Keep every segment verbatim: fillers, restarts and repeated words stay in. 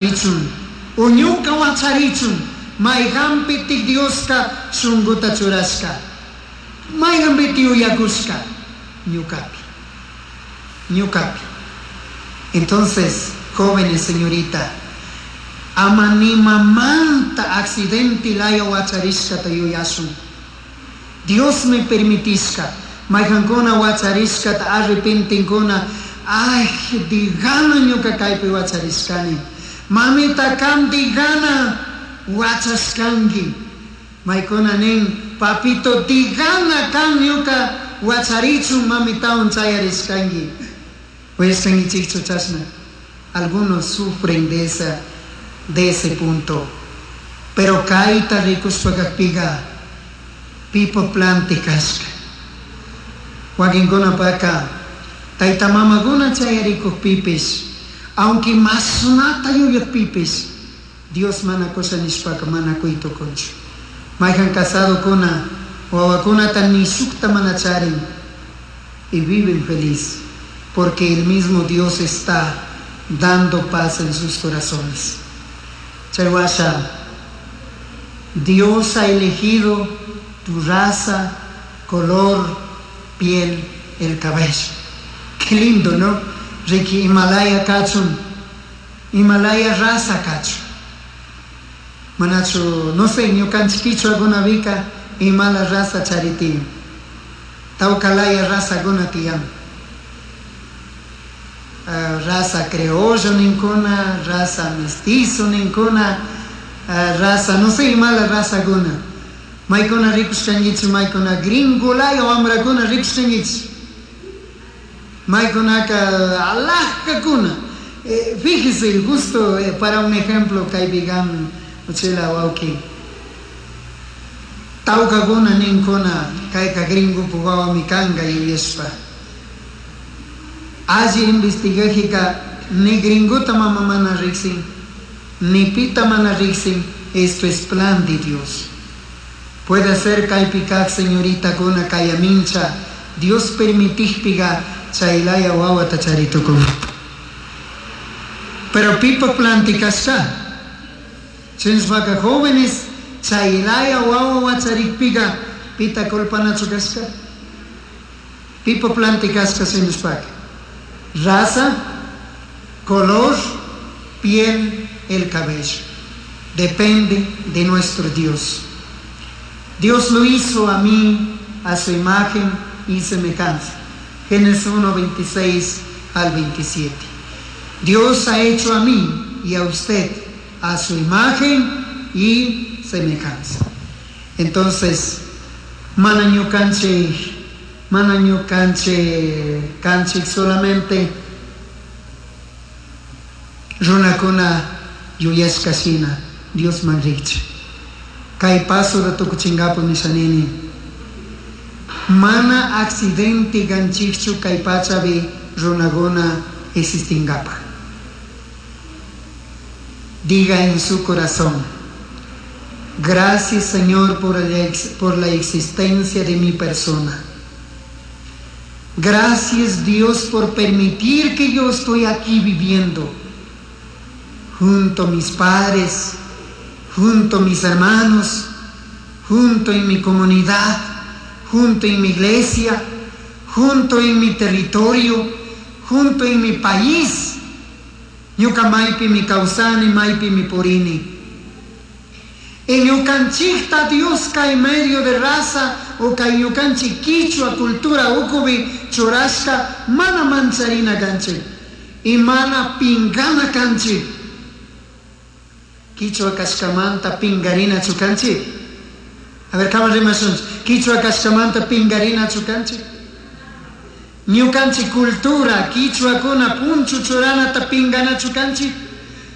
Richun, o ñuka wacharichun, mayqanpitik Dioska shunkuta churashka, mayqanpiti yuyakushka, ñukapi, ñukapi. Entonces, jóvenes, señorita, ama nimamanta accidente laya wacharishkata yuyashun. Diosmi permitishka, mayqankuna wacharishkata arrepentinkuna, ay, digana ñuka kaypi wacharishkani. Mamita kan digana wachashkanki. Maykuna nin, papito digana kan ñuka wacharichun mamitawan chayarishkanki. Uyashkankichikchu chashna. Algunos sufren de esa, de ese punto. Pero kayta rikushpa kakpiga pipa planti kashka. Wakinkunapaka tayta mamakuna chayarikukpipish, aunque mashnata yuyakpipish, Dios mana kusha nishpaka mana kuy tukunchu. Mayhan casadokuna wawakunata ni shukta mana charin y viven feliz porque el mismo Dios está dando paz en sus corazones. Chaywasha, Dios ha elegido tu raza, color, piel, el cabello. Qué lindo, ¿no? Riki imalaya kachun, imalaya raza kachun. Manachu, no sé, ñukanchik kichwakunapika imala raza charitiyan. Tawkalaya razakuna tiyan. Uh, raza criollo ninkuna, raza mestizo ninkuna, uh, raza, no sé, imala razakuna. Maykuna rikushkankichik, maykuna gringolaya wamrakuna rikushkankichik. Maykunaka alajkakuna. Eh, fíjese, justo eh, para un ejemplo, kaypi kan uchila wawki. Tawkakuna ninkuna kayka gringopak wawami kanka yuyashpa. Alli investigajika ni gringota mama mana riksin, ni pita mana riksin, esto es plan de Dios. Puede ser kaypi kak señoritakuna kayamincha, Dios permitijpiga chaylaya wawata charitukun. Pero pipa planti kashka. Chinshpaka jóvenes chaylaya wawa wacharikpiga pita culpanachu kashka. Pipa planti kashka chinshpaka. Raza, color, piel, el cabello. Depende de nuestro Dios. Dios lo hizo a mí, a su imagen y semejanza. Génesis uno, veintiséis al veintisiete. Dios ha hecho a mí y a usted a su imagen y semejanza. Entonces, mana ñukanchik, mana ñukanchik, kanchik solamente runakuna yuyashka shina Diosman rikcha. Kay pasota tukuchinkapak nishanini. Mana accidente ganchikchu kay pachapi runakuna existinkapak. Diga en su corazón: gracias, Señor, por la ex-, por la existencia de mi persona. Gracias, Dios, por permitir que yo estoy aquí viviendo junto a mis padres, junto a mis hermanos, junto en mi comunidad, junto en mi iglesia, junto en mi territorio, junto en mi país. Ñuka maypi mi kawsani, maypi mi purini. En ñukanchikta Dios kay medio de raza o kay ñukanchik kichwa cultura ukupi churashka mana mancharina kanchik y mana pingana kanchik. Kichwa kashkamanta pingarina chukanchik. A ver, kama rimashunchik. Kichwa kashkamanta pingarina chukanchik. Ñukanchik cultura, kichwakuna punchu churanata pingana chukanchik.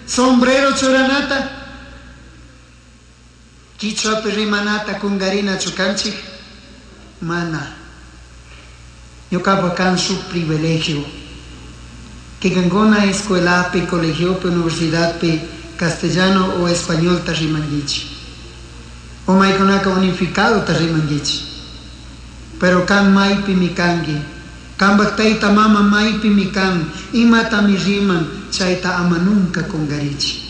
Sombrero churanata. Kichwapi rimanata kungarina chukanchik. Mana. Ñukapa kan su privilegio. Que kankuna escuelapi, colegiopi, universidadpi, castellano o español ta rimanguichi. O maykunaka unificado ta rimanguichi. Pero kan maypi mi kanki. Kanpak tayta mama maypi mi kan. Imatami riman, chayta ama nunca kungarichi.